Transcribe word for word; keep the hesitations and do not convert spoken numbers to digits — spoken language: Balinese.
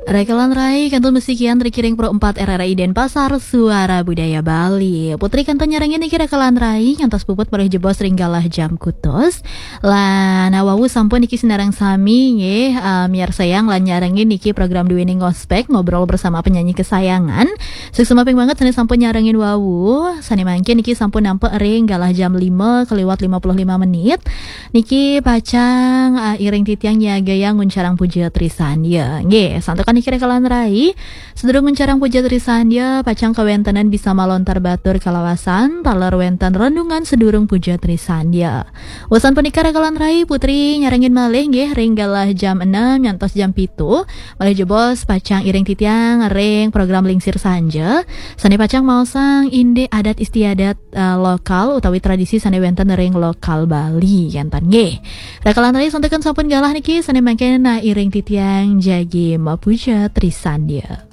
Rakalan rai, kantun masikian ring Pro empat R R I Denpasar, Suara Budaya Bali. Putri kantun nyarengin niki rakalan rai, ngantos puput malih jebos ring galah jam kutus. Lan wau sampun niki sinareng sami nggih, eh, miarsayang lan nyarengin niki program duene Ngospek, Ngobrol Bersama Penyanyi Kesayangan. Suksma ping banget sane sampun nyarengin wau, sane mangkin niki sampun nampek ring galah jam lima kaliwat lima puluh lima menit. Niki pacang, ah, iring titiang nyagayang nguncarang puja trisandya. Nggih, santukan niki rakalan rai. Sadurung nguncarang puja trisandya, pacang kawentenan bisa malontar batur kalawasan, taler wenten renungan sadurung puja trisandya. Wusan punika rakalan rai, Putri nyarengin malih nggih ring galah jam enam ngantos jam pitu. Malih jebos pacang iring titiang ring program Lingsir Sanja. Sane pacang maosang indik adat istiadat, eh, lokal utawi tradisi sane wenten ring lokal Bali, kenten nggih. Rakalan rai, santukan sampun galah niki, sane mangkin, nah, iring titiang jagi mapuja trisandya.